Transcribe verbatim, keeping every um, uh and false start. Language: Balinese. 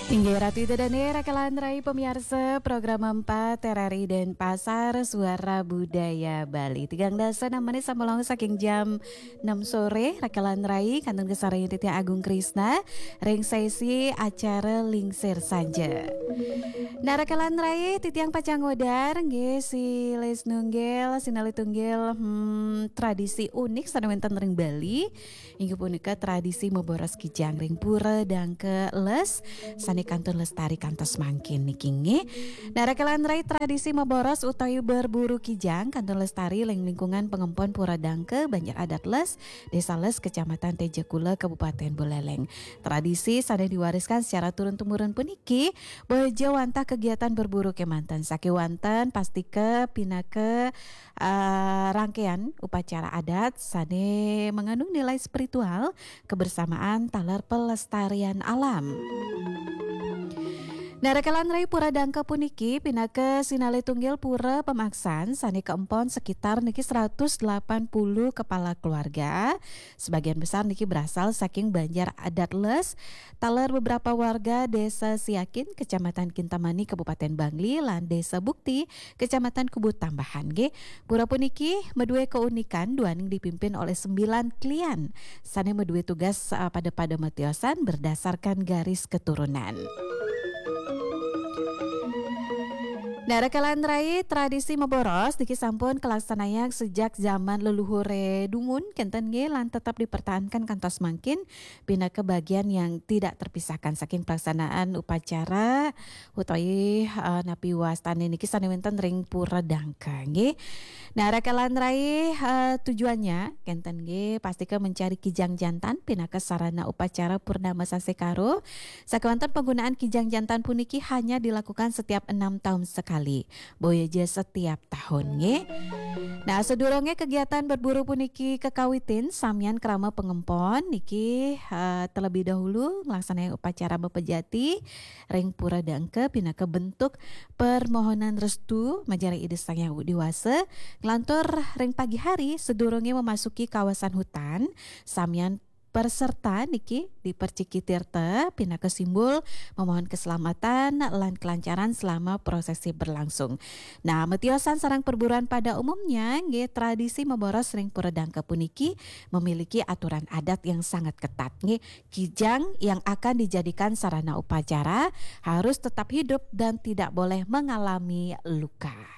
Inggih Ratu Ida Dane, Raka lan Rai, pamiarsa program empat R R I Denpasar, Suara Budaya Bali. Tigang dasa enam menit sampun langkung saking jam enam sore, Raka lan Rai, kantun kasarengin titiang Agung Krisna ring sesi acara Lingsir Sanja. Nah, Raka lan Rai, titiang pacang ngudar nggih silih tunggil, sinalih tunggil, hmm, tradisi unik sane wenten ring Bali. Inggih punika tradisi maboros kijang ring Pura Dangka Les sane kantun lestari kantos mangkin niki, nggih. Nah, Raka lan Rai, tradisi maboros utawi berburu kijang kantun lestari ring lingkungan pangempon Pura Dangka, Banjar Adat Les, Desa Les, Kecamatan Tejakula, Kabupaten Buleleng. Tradisi sane diwariskan secara turun-temurun puniki boya wantah kegiatan berburu kemanten sakewanten pastika pinaka ah, rangkaian upacara adat sane mengandung nilai spiritual, kebersamaan, taler pelestarian alam. Nah, Raka lan Rai, Pura Dangka puniki pinaka sinalih tunggil pura pamaksan sane kaempon sekitar niki seratus delapan puluh kepala keluarga. Sebagian besar niki berasal saking Banjar Adat Les, taler beberapa warga Desa Siakin, Kecamatan Kintamani, Kabupaten Bangli, lan Desa Bukti, Kecamatan Kubu Tambahan, nggih. Pura puniki madue keunikan duaning dipimpin oleh sembilan klian sane madue tugas, eh, pada-pada matiosan berdasarkan garis keturunan. Nah, Raka lan Rai, tradisi maboros niki sampun kalaksanayang sejak zaman leluhure dumun kenten, nggih, lan tetap dipertahankan kantos mangkin pinaka bagian yang tidak terpisahkan saking pelaksanaan upacara utawi, eh, napi wastane niki sane wenten ring Pura Dangka, nggih. Nah, Raka lan Rai, eh, tujuannya kenten, nggih, pastika mencari kijang jantan pinaka sarana upacara Purnama Sasih Karo. Sakewanten penggunaan kijang jantan puniki hanya dilakukan setiap enam tahun sekali. Boya ja setiap tahun, nggih. Nah, sadurunge kegiatan berburu puniki kakawitin, samian krama pangempon niki, eh, terlebih dahulu nglaksanayang upacara mapejati ring Pura Dangka pinaka bentuk permohonan restu majeng ring Ida Sang Hyang Widi Wasa. Nglantur ring pagi hari, sadurunge memasuki kawasan hutan, samian peserta niki diperciki tirta pinaka simbol memohon keselamatan lan kelancaran selama prosesi berlangsung. Nah, matiosan sareng perburuan pada umumnya, nggih, tradisi maboros ring Pura Dangka puniki memiliki aturan adat yang sangat ketat, nggih. Kijang yang akan dijadikan sarana upacara harus tetap hidup dan tidak boleh mengalami luka.